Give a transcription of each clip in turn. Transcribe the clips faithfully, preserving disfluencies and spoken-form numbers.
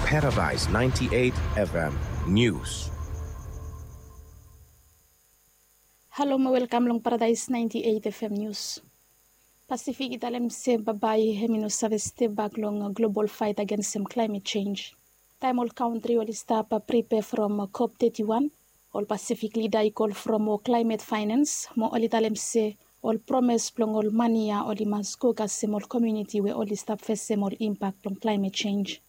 Paradise ninety-eight F M News. Halo mo welkam long Paradise ninety-eight F M News. Pasifik i talem se bae hem i no save step bak long global faet agensem klaemet jenj. Taem ol kantri oli stap pripea from kop teti wan, ol Pasifik lida i kol from ol klaemet faenans mo oli talem se ol promes blong ol mane ya oli mas go kasem ol komuniti we oli stap fesem ol impak blong klaemet jenj.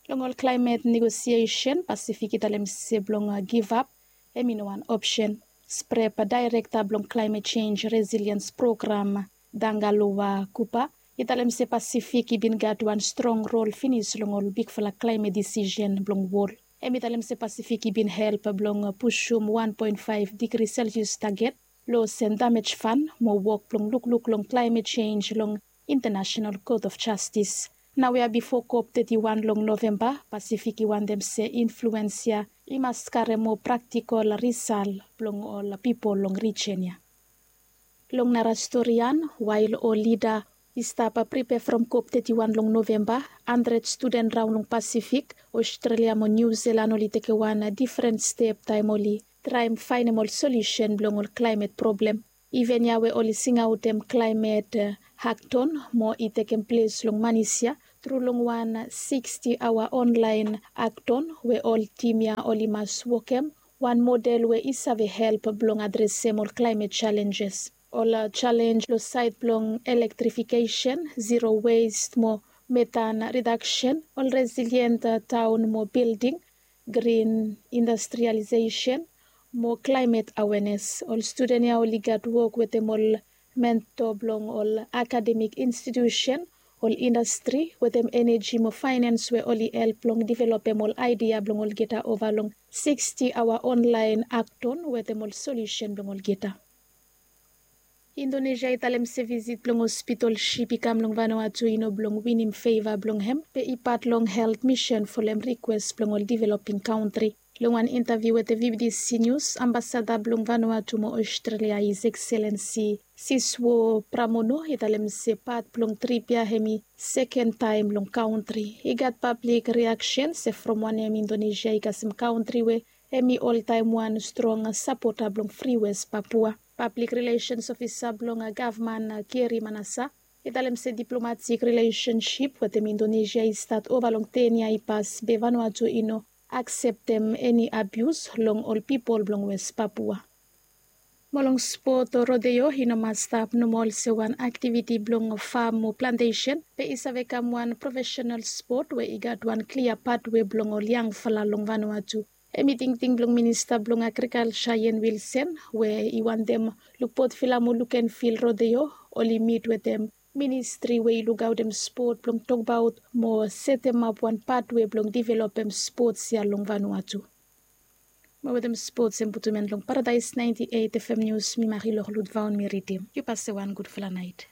Long ol klaemet negosiesen, Pasifik i talem se blong givap hem i no wan opsen. Sprep daerekta blong klaemet jenj resiliens program, Dangalowa Kupa, i talem se Pasifik i bin gat wan strong rol finis long ol bigfala klaemet disisen blong wol. Hem i talem se Pasifik i bin help blong pusum wan poen faef digri selsias taget, los en damej fan mo wok blong lukluk long klaemet jenj long International Court of Justice. Naoia bifo kop teti wan long Novemba, Pasifik i wantem se influens ya i mas karem moa praktikol risal blong ol pipol long rijen ya. Long nara storian, wael ol lida i stap pripea from kop teti wan long Novemba, handred studen raon long Pasifik, Aostralia mo Niu Silan oli tekem wan difren step taem oli traem faenem ol solusen blong ol klaemet problem. Iven ya we oli singaotem klaemet hakton mo i tekem ples long Manis ya tru long wan siksti aoa onlaen hakton we ol tim ya oli mas wokem wan model we i save help blong adresem ol klaemet jalenjes. Ol jalenj long saed blong elektrifikesen, ziro west mo metan ridaksen, ol resilient taon mo bilding, grin industrialisesen mo klaemet awenes. Ol studen ya oli gat wok wetem ol mento blong ol akademik institusen, ol indastri wetem eneji mo faenans we oli help blong developem ol aedia blong olgeta ova long siksti aoa onlaen hakton wetem ol solusen blong olgeta. Indonesia i talem se visit blong hospital sip i kam long Vanuatu i no blong winim feva blong hem be i pat long helt misen folem rikwes blong ol developing kantri. Long wan intaviu wetem V B C News, ambasada blong Vanuatu mo Aostralia, His Excellency Siswo Pramono, i talem se pat blong trip ya hem i seken taem long kantri. I gat pablik riaksen se from wanem Indonesia i kasem kantri we hem i oltaem wan strong sapota blong Fri Wes Papua. Pablik rilesens ofisa blong gavman, Gary Manasa, i talem se diplomatik rilesensip wetem Indonesia i stat ova long ten yia i pas be Vanuatu i no akseptem eni abius long ol pipol blong Wes Papua. Mo long spot, rodeo i no mas stap nomo olsem wan aktiviti blong fam o plantesen be i save kam wan profesenal spot we i gat wan klia patwe blong ol yangfala long Vanuatu. Hem i tingting blong minista blong agrikalja Ian Wilson we i wantem lukpot fila mo lukenfil rodeo oli mit wetem ministri we i lukaotem spot blong tokbaot mo setemap wan patwe blong developem spots ya long Vanuatu. Mo wetem spots hem putum en long Paradise ninety-eight F M News, mi Marie Lorlut Vaon mi ridim. Yu pase wan gudfala naet.